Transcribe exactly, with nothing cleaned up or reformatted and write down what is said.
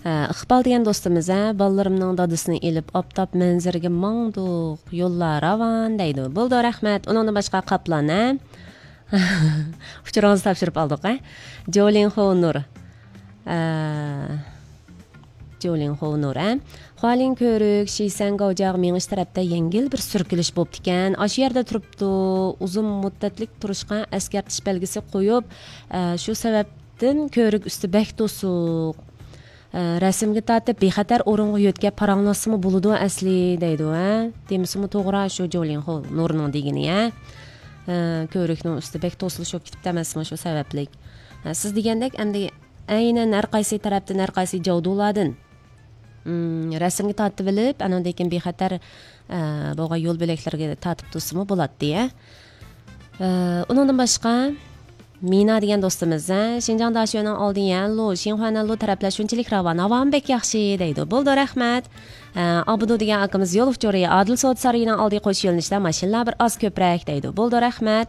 ئىقبال دېگەن دوستىمىز، ھە، بالىلىرىمنىڭ دادىسىنى ئېلىپ ئاپتاپ مەنزىرىگە ماڭدۇق، يوللار راۋان دەيدۇ. بولدى، رەھمەت. ئۇنىڭدىن باشقا قاپلان، ھە؟ ئۇچۇرىڭىزنى تاپشۇرۇپ ئالدۇق، ھە؟ جولىنخو نۇر. ئە، جولىنخو نۇر، ھە؟ خۇالىن كۆۋرۈك شىسەن گاۋجياغا مېڭىش تەرەپتە يەڭگىل بىر سۈركىلىش بوپتىكەن. ئاشۇ يەردە تۇرۇپتۇ. ئۇزۇن مۇددەتلىك تۇرۇشقا ئەسكەرتىش بەلگىسى قويۇپ، ئە، شۇ سەۋەبتىن كۆۋرۈك ئۈستى بەك توسۇق. ئە، رەسىمگە تارتىپ بىخەتەر ئورۇنغا يۆتكەپ پاراڭلاشسىمۇ بولىدۇ ئەسلى دەيدۇ، ھە؟ دېمىسىمۇ توغرا شۇ جولىنخو نۇرنىڭ دېگىنى، ھە؟ ئە، كۆۋرۈكنىڭ ئۈستى بەك توسۇلۇش بولۇپ كېتىپتۇ ئەمەسمۇ شۇ سەۋەبلىك؟ ئە، سىز دېگەندەك ئەمدى ئەينەن ھەر قايسى تەرەپتىن، ھەر قايسى جاۋدۇلاردىن، ئىم، رەسىمگە تارتىۋېلىپ، ئانىڭدىن كېيىن بىخەتەر، ئە، بولغان يول بۆلەكلىرىگە تارتىپ تۇرسىمۇ بولاتتى، ھە؟ ئە، ئۇنىڭدىن باشقا، مىنا دېگەن دوستىمىز، ھە، شىنجاڭ داشۆنىڭ ئالدى يەنلۇ، شىنخۇەنەنلۇ تەرەپلەر شۇنچىلىك راۋان، ھاۋامۇ بەك ياخشى دەيدۇ. بولدى، رەھمەت. ئە، ئابدۇ دېگەن ئاكىمىز يول ئۇچۇرى، ئادىل سودا سارىيىنىڭ ئالدى قوش يۆنىلىشتە ماشىنىلار بىر ئاز كۆپرەك دەيدۇ. بولدى، رەھمەت.